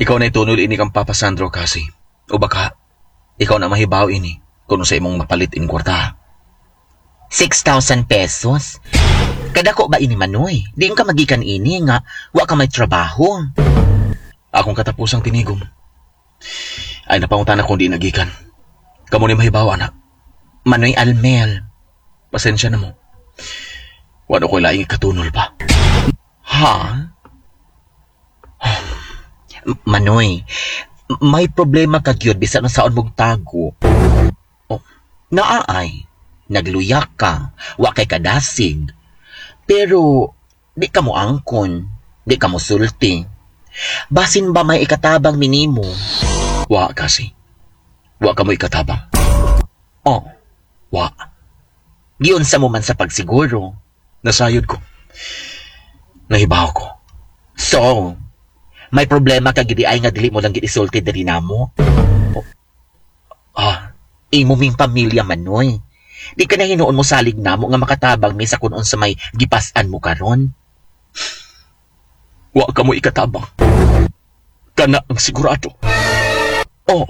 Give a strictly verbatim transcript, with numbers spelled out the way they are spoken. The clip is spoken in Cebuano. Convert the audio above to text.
Ikaw na itunol ini kang Papa Sandro kasi. O baka, ikaw na mahibaw ini kung sa imong mapalit in kwarta. six thousand pesos. Kadako ba ini, Manoy? Di ka magikan ini nga wa ka may trabaho. Akong katapusang tinigom. Ay napangutan ako di nagikan. Kamo ni mahibaw, anak. Manoy Almel. Pasensya na mo. Wala ko'y laing ikatunol pa. Ha? Manoy, may problema ka gyud bisan saon mong tago. Oh, naay, nagluyak ka, wa kay kadasig. Pero di ka mo angkon, di ka mo sulti. Basin ba may ikatabang minimo? Wa kasi. Wa ka mo ikatabang. Oh, Wa. Giunsa mo man sa pagsiguro? Nasayod ko. Nahibaw ko. So, may problema ka gidi ay nga dili mo lang gid isulti diri namo? Ah, Imo ming pamilya, Manoy. Di ka na hinuon mo salig namo nga makatabang mi sa kun unsa may gipas-an mo karon. Wa ka mo ikatabang. Kana ang sigurado. Oh,